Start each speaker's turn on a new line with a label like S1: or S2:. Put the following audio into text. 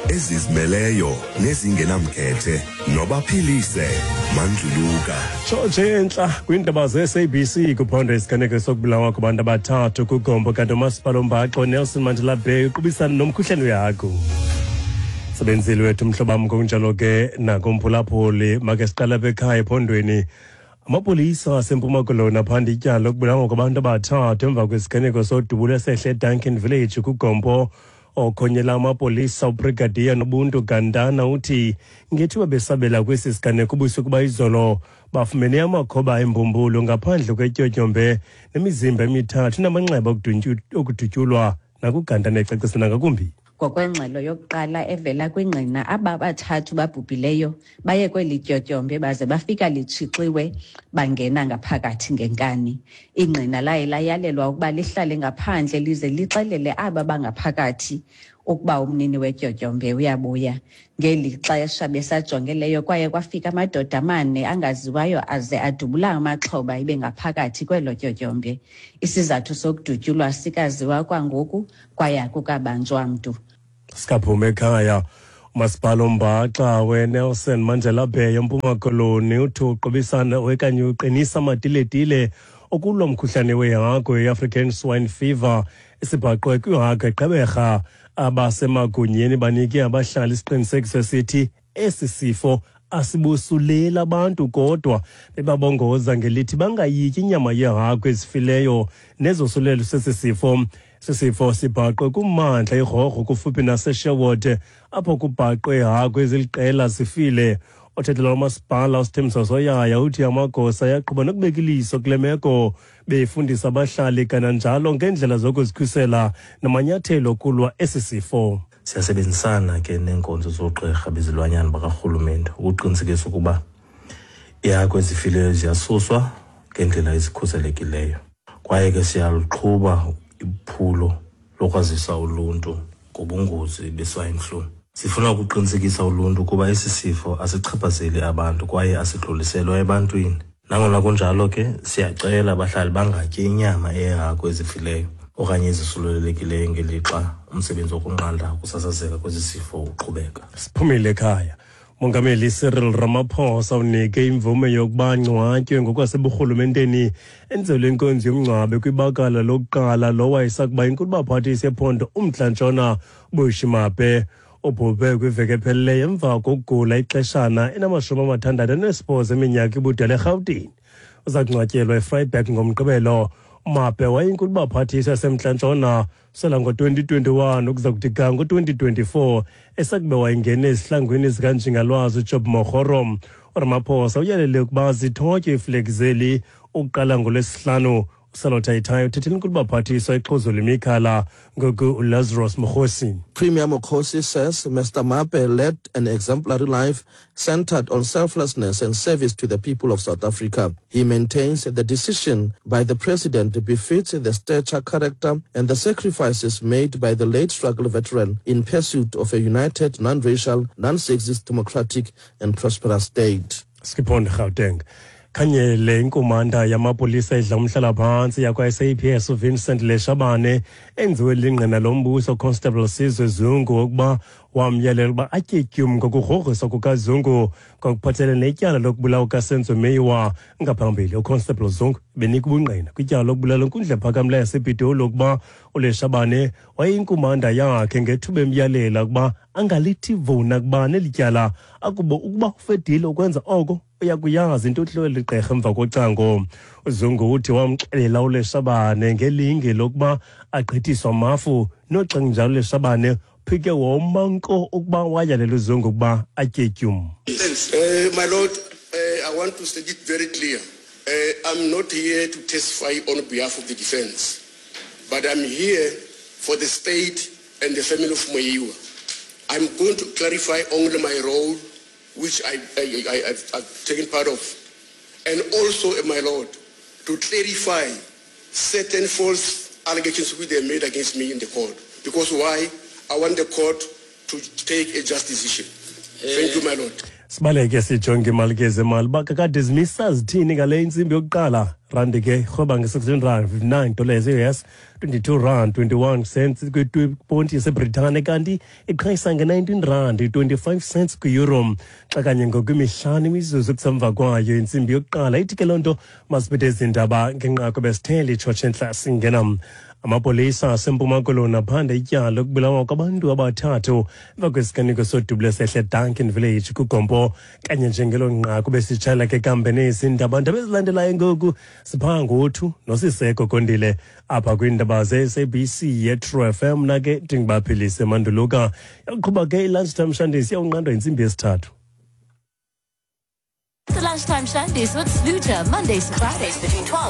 S1: ezizimeleyo nezingenamkhethe nobaphilise mandluluka.
S2: Tshotshe entla kwiindaba ze-SABC kuphondo isiganeko sokubulawa kwabantu abathathu kugombo kanti umasipala ombaxo Nelson Mandela Bay uqubisana nomkhuhlane wehagu. Sebenzile wethu mhlobam ngokunjalo ke nakumphulaphuli make siqala apha ekhaya ephondweni. Amapolisa aseMpuma Koloni aphanda ityala lokubulawa kwabantu abathathu emva kwesiganeko sodubulo esehle eDuncan Village kuGompo. Okhonyela amapolisa uBrigadier Nobuntu Gandana uthi ngethuba besabela kwesi siganeko ubusuku bayizolo bafumene amakhoba embumbulu ngaphandle kwetyotyombe nemizimba emithathu namanxeba okudutyulwa nakuGandana ecacisa nangakumbi.
S3: Ngokwengxelo yokuqala evela kwingqina, aba bathathu babhubhileyo baye kweli tyotyombe baze bafika litshixiwe bangena ngaphakathi ngenkani. Ingqina laye layalelwa ukuba lihlale ngaphandle lize lixelele aba bangaphakathi ukuba umnini wetyotyombe uyabuya. Ngeli xesha besajongeleyo kwaye kwafika amadoda amane angaziwayo aze adubula amaxhoba ibe ngaphakathi kwelo tyotyombe. Isizathu sokudutyulwa sikaziwa kwangoku kwaye akukabanjwa mntu.
S2: Sikaphuma ekhaya. Umasipala ombaxa weNelson Mandela Bay eMpuma Koloni uthi uqubisana okanye uqinisa amatiletile okulwa umkhuhlane wehagu i-African Swine Fever esibhaqwe kwihagu eGqeberha. Abasemagunyeni banike abahlali isiqinisekiso esithi esi sifo asibosuleli abantu kodwa bebabongoza ngelithi bangayityi inyama yehagu ezifileyo nezosulelo sesi sifo. Sisifo sibhaqwe kummandla iRhorho kufuphi naseSherwood apho kubhaqwe ihagu eziliqela zifile. Othethela umasipala uSithembiso Soyaya uthi amagosa ayaqhuba nokubeka iliso kule meko befundisa abahlali kananjalo ngeendlela zokuzikhusela namanyathelo okulwa esi sifo.
S4: Siyasebenzisana ke neenkonzo zoogqirha bezilwanyana bakarhulumente ukuqinisekisa ukuba iihagu ezifileyo ziyasuswa ngendlela ezikhuselekileyo. Kwaye ke siyaluqhuba iphulo lokwazisa uluntu ngobungozi be-swine flu. Sifuna ukuqinisekisa uluntu ukuba esi sifo asichaphazeli abantu kwaye asidluliselwa ebantwini. Nangona kunjalo ke, siyacela abahlali bangatyi inyama yeehagu ezifileyo okanye ezisulelelekileyo ngelixa umsebenzi wokunqanda ukusasazeka kwesi sifo uqhubeka.
S2: Siphumile ekhaya. Mongameli Cyril Ramaphosa unike imvume yokuba angcwatywe ngokwaseburhulumenteni enzelwe inkonzo yomngcwabo kwibakala lokuqala lowo wayesakuba inkulubaphathisi yephondo uMntla Ntshona Bushy Mape. Ubhubhe kwiveki epheleleyo emva kokugula ixeshana enamashumi amathandathu anesibhozo eminyaka ibudala eRhawutini. Uza kungcwatyelwa eFreiburg ngoMgqibelo. UMape wayinkulubaphathisi yaseMntla Ntshona sela ngo-2021 ukuza kuthi ga ngo-2024 esakube wayengene ezihlangwini zikaNjingalwazi uJob Mokgoro. URamaphosa uyalele ukuba zithotywe iiflegi zeli ukuqala ngoLwesihlanu. Usalotha uthethela inkulubaphathiswa ixhuzula imikhala ngoku uLazarus Mokgosi.
S5: Premier Mokgosi says Mr. Mape led an exemplary life centered on selflessness and service to the people of South Africa. He maintains the decision by the president befits the stature, character, and the sacrifices made by the late struggle veteran in pursuit of a united, non-racial, non-sexist, democratic, and prosperous state.
S2: Skipon Gauteng. Khanyele inkumanda yamapolisa edla umhlalaphantsi yakwa-SAPS uVincent Leshabane enziwe lingqina lombuso Constable Sizwe Zungu ukuba wamyalela ukuba atye tyum ngokugrogriswa kukaZungu ngokuphathelene netyala lokubulawa kukaSenzo Meyiwa. Ngaphambili uConstable Zungu benika ubungqina kwityala lokubulala inkundla ephakamileyo yasePitoli ukuba uLeshabane wayeyinkumanda yakhe ngethuba emyalela ukuba angalithi vuna kubani eli tyala akubo ukuba ufedile ukwenza oko uyakuyazi into ohlwele ligqirha emva kocango. UZungu uthi wamxelela uLeshabane ngelinge lokuba agqithiswa amafu noxa kunjalo uLeshabane phike woma nko ukuba wayalela uZungu ukuba atye tyum.
S6: My Lord, I want to state it very clear. I'm not here to testify on behalf of the defense, but I'm here for the state and the family of Meyiwa. I'm going to clarify only my role, which I've taken part of, and also, my Lord, to clarify certain false allegations which they made against me in the court. Because why? I want the court to take a just decision. Thank you, my lord.
S2: Sibaleke sijonge imali ke zemali uba kakade zimisa zithini ngale intsimbi yokuqala. Randi ke rhweba nge-16 rand 59 dollars e-US, 22 rand 21 cents kwiponti yaseBritane, kanti iqhayisa nge-19 rand 25 cents kwi-euro. Xa kanye ngokwimihlanu imizuzu kusemva kwayo intsimbi yokuqala, ithi ke loo nto masiphethe ezi ndaba ngenqaku besithele itshotshe entla singena. Amapolisa aseMpuma Koloni aphanda ityala lokubulawa kwabantu abathathu emva kwesiganeko sodubulo sehle Duncan Village kuGompo. Kanye njengelo nqaku besitshayela ke kambe nezi ndaba. Ndaba ezilandelayo ngoku siphaa ngothu noSiseko Kondile apha kwiindaba ze-SABC yeTrue FM. Nake ndingubaphilise Manduluka. Yaqhuba ke i-Lunchtime Shandis, iyawunqandwa yintsimbi yesithathu.
S7: The Lunchtime Shandies with Sluter, Mondays to Fridays between 12